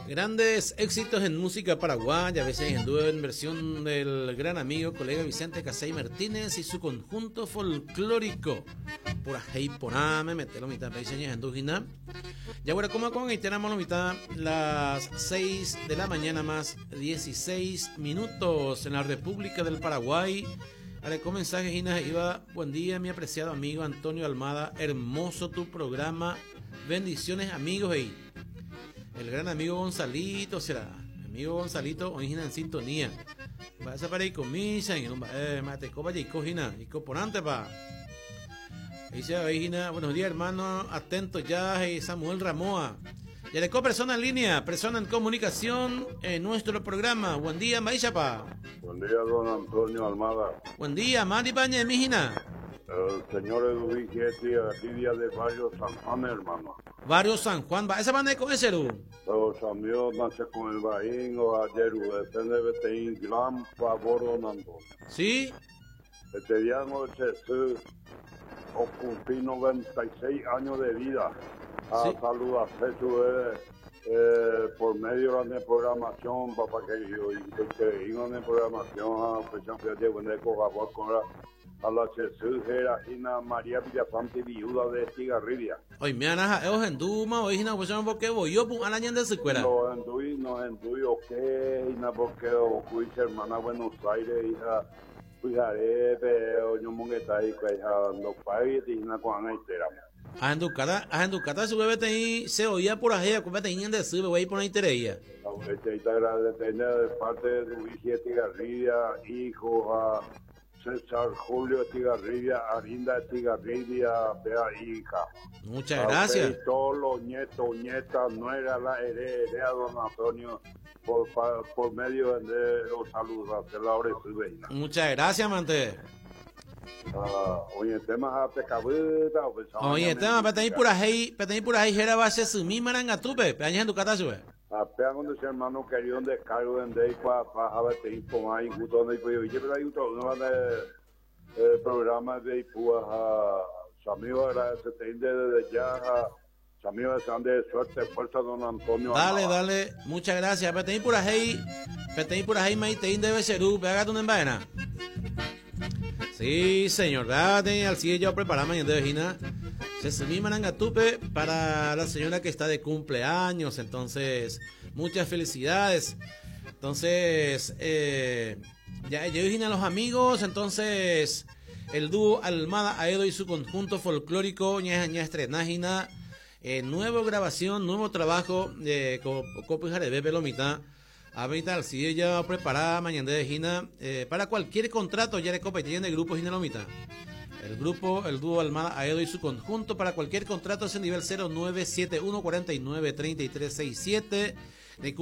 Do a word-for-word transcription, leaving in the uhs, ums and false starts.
Grandes éxitos en música paraguaya, a veces en versión del gran amigo, colega Vicente Casey Martínez y su conjunto folclórico. Por ahí por me metelo mitad, ya bueno, como con tenemos la mitad, las seis de la mañana más dieciséis minutos en la República del Paraguay. Ahora, con mensaje, Gina, iba, buen día, mi apreciado amigo Antonio Almada, hermoso tu programa, bendiciones amigos, y el gran amigo Gonzalito, será, amigo Gonzalito, hoy en sintonía. Va a para y comisa, y eh, mate, copa y cojina, y coporante pa. Dice, Gina, buenos días, hermano, atento ya, y Samuel Ramoa. Ya le persona en línea, persona en comunicación en nuestro programa. Buen día, Maíchapa. Buen día, don Antonio Almada. Buen día, Mari Paña de Mijina. El señor Eduvige aquí día de Barrio San Juan, hermano. Barrio San Juan, va, esa banda con ese. Los amigos nace con el Baín o ayer, depende de gran favor, don Antonio. Sí. Este día noche, o cumplí noventa y seis años de vida. A sí. Saludar eh, por medio de la programación, papá querido, y que en la programación, a fecha de con la a la Jesús era Gina María Villafante, viuda de Estigarribia. Hoy me anaja, es genduma, hoy Gina, pues porque voy yo, pues al año de secuela. No endui, no endui, o qué, Gina, porque o cuiche hermana Buenos Aires, hija, cuijaré, pero yo mongueta y cuija, no pague, Gina, con Ana y Tera. Ajenducata, ajenducata, su bebé te se oía por ahí, acuérdate, de su bebé por ahí tereía. De parte de Luis Estigarribia, hijo a César Julio Estigarribia, Arinda Estigarribia, vea hija. Muchas gracias. Y todos los nietos, nietas, nuera, la heredera, don Antonio, por, por medio de los saludos, de la hora de Muchas gracias, mante. Uh, oye, tema pecabita, oye, tema, petei por ahí, petei por ahí, era base su mi marangatupe, peaña en tu casa sube. Apenas cuando ese hermano querido un descargo de pa pa a te informar y gusto donde yo oye, pero hay otro no de programa de Ipúa a su amigo agradece desde ya a su amigo de suerte fuerza don Antonio. Dale, dale, muchas gracias. Petei por ahí, petei por ahí, maite debe ser u, pega tu embaena. Sí, señor, dale, al yo preparamos mañana de vecina. Se sumí marangatupe para la señora que está de cumpleaños, entonces, muchas felicidades. Entonces, eh, ya yo dije a los amigos, entonces, el dúo Almada Aedo y su conjunto folclórico, ña, ña, estrenajina, eh, nueva grabación, nuevo trabajo de Copa Jarebe Pelomita. Ahorita, si ella preparada mañana de Gina, eh, para cualquier contrato, ya le copa y tiene grupo Gina Lomita. El grupo, el dúo Almada Aedo y su conjunto, para cualquier contrato es el nivel cero nueve siete uno cuarenta y nueve treinta y tres seis siete. De